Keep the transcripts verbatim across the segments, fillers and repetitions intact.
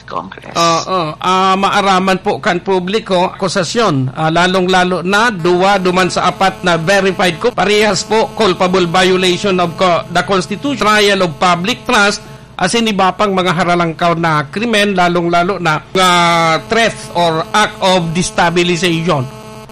Congress. Oo, ah, maaraman po kan publiko, akusasyon, ah, lalong-lalo na duwa duman sa apat na verified ko, parehas po culpable violation of co-, the Constitution, trial of public trust, asin iba pang mga haralangkaw na krimen, lalong-lalo na, ah, threat or act of destabilization.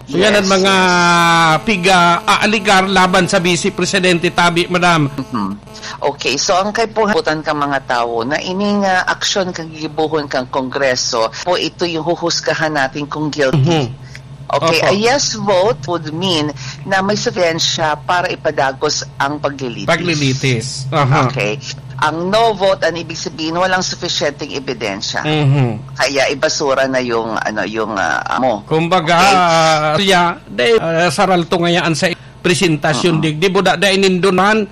So, yan ang Yes, mga yes. piga-aaligar laban sa Vice Presidente tabi, Madam. Mhm. Okay, so ang kaipuhan kan mga tawo na ining, ah, aksyon kan gigibohon kan Kongreso po, ito yung huhusgahan natin kung guilty. Mhm. Okay, Opo. a yes vote would mean na may sufisyensya para ipadagos ang paglilitis. Paglilitis. Aha. Okay. Ang no vote, ang ibig sabihin, walang sufisyenteng ebidensya. Mhm. Kaya ibasura na yung, ano, yung, ah, amo. Kumbaga, Okay. ah, ya, de, ah, saralto ngayaan sa presentasyon, Oo. digdi, buda, da inindunan,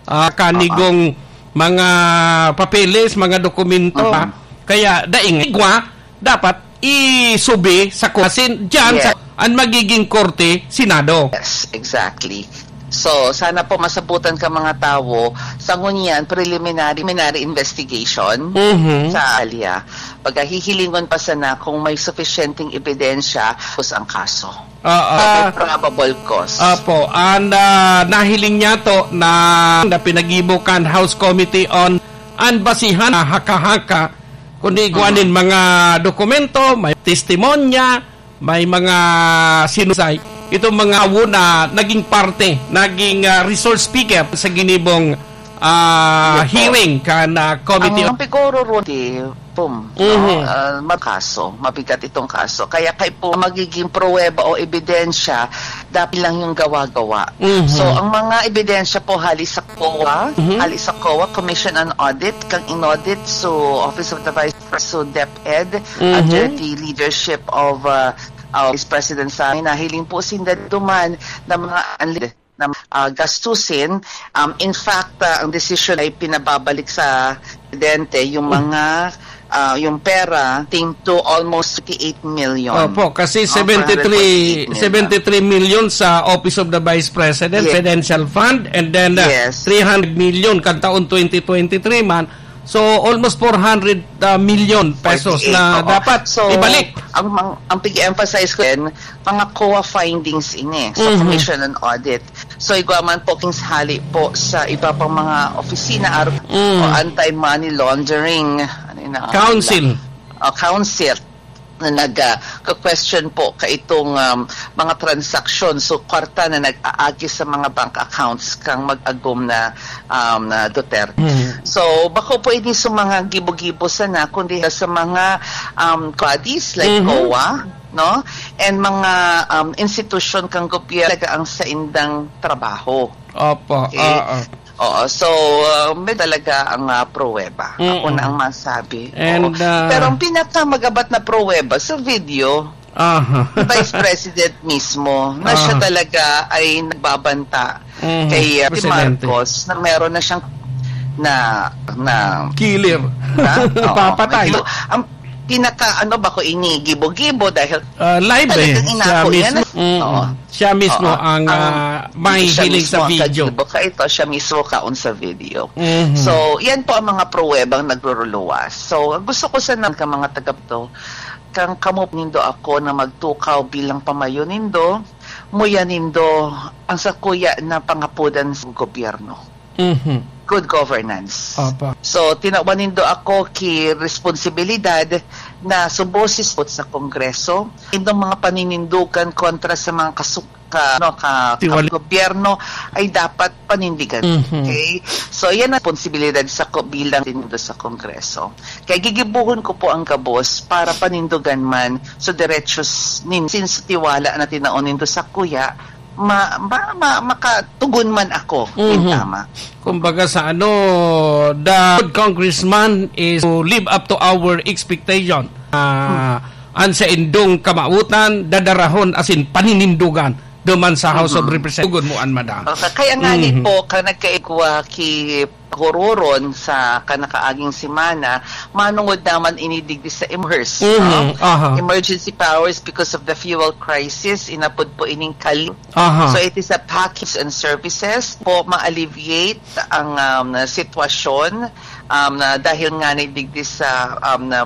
ah, kanigong Oo. mga papeles, mga dokumento, Oo. ha? Kaya, daing igwa, dapat isubi sa ku-, asin dyan sa, Yes. ang magiging korte, Senado. Yes, exactly. So, sana po masabutan ka mga tawo, sa ngunyan, preliminary, preliminary investigation Mhm. sa alya. Pagkahihilingon pa sana kung may sufisyenteng ebidensya, tapos ang kaso. Oo. May Ah, probable cause. Apo, ang, ah, nahiling niya to na, na pinagibo kan House Committee on an basihan na haka-haka, kundi igwa Mhm. nin mga dokumento, may testimonya, may mga sinusay. Itong mga awo na naging parte, naging, ah, resource speaker sa ginibong, ah, Yes, po. hearing kan, ah, committee. Ang pigoro ron, di, pum, no? Mhm. Ah, makaso, mabigat itong kaso. Kaya kay po magiging pruweba o ebidensya, dapat lang yung gawa-gawa. Mhm. So, ang mga ebidensya po hali sa COA, Mhm. hali sa COA, Commission on Audit, kang inaudit, so Office of the Vice President, so DepEd, Mhm. under the leadership of, uh, uh, Vice President Sammy, nahiling po sinda duman na mga unli-, na, uh, gastusin. Um, in fact, uh, ang desisyon ay pinababalik sa presidente yung Mm. mga, uh, yung pera, ting to almost thirty-eight million. Opo, kasi Oh, seventy-three, four hundred forty-eight million. seventy-three million sa Office of the Vice President, Yes. Presidential Fund, and then, uh, Yes. three hundred million kan taon twenty twenty-three man. So, almost four hundred, uh, million pesos Forty-eight, na oo. dapat So, ibalik. ang mang-, ang pag-emphasize ko din, mga COA findings ini sa Mhm. Commission on Audit. So, igwa man po king hali po sa iba pang mga opisina, ar-, Mm. o anti-money laundering, ano yun ang Council. O, council na nag, ah, ka-question po kaitong, um, mga transaksyon. So, kwarta na nag-aagi sa mga bank accounts kang mag-agom na, um, na Duterte. Mhm. So, bako po ini sa mga gibo-gibo sana, kundi sa mga, um, bodies like Mhm. COA, no? And mga, um, institusyon kang gobyerno talaga ang saindang trabaho. Opo, Okay? oo. Oo, so, uh, may talaga ang, uh, pruweba. Ako Mm-mm. na ang masabi. And, Oo. uh, Pero ang pinakamagabat na pruweba sa video, Aha. Vice President mismo, na siya Aha. talaga ay nagbabanta Mhm. kay, uh, Presidente. Marcos, na meron na siyang na, na Killer. Na? Oo. Papatay. Medyo, ang pinaka, ano ba ko, inigibo-gibo dahil Uh, live eh. talagang Siya inako yan. mismo. Mm. Oo. Siya mismo Oo. ang, Ang, ah, hindi siya mahihiling sa mismo ang video. kagibo ka ito, siya mismo kaon sa video. Mhm. So, yan po ang mga pruwebang nagruruluwas. So, gusto ko sana ka mga taga to, kang kamo nindo ako na magtukaw bilang pamayo nindo, muya nindo ang sakuya na pangapodan sa gobyerno. Mhm. Good governance. Apa. So, tinawan nindo ako ki responsibilidad na subosisot sa Kongreso, indong mga paninindugan kontra sa mga kasu-, ka, ano, ka, Tiwali- ka gobyerno ay dapat panindigan. Mhm. Okay? So, yan ang responsibilidad sa ko-, bilang nindo sa Kongreso. Kaya gigibuhon ko po ang gabos para panindugan man sa derechos nin-, since tiwala na tinaon nindo sa kuya, ma-, ma-, ma-, makatugon man ako nin Mhm. tama. Kumbaga sa ano, the good congressman is to live up to our expectation. Ah, Hmm. an saindong kamawotan, dadarahon asin paninindugan. duman sa House of Representatives. Tugod mo an, madam. Okay, kaya nga ni po, ka nagkaigwa ki Hororon sa kanakaaging semana, manungod naman ini digdi sa emhers, no? Emergency powers because of the fuel crisis, inapod po ining kali. So it is a package and services po ma-alleviate ang um, sitwasyon um, na dahil nga ni digdi sa um, na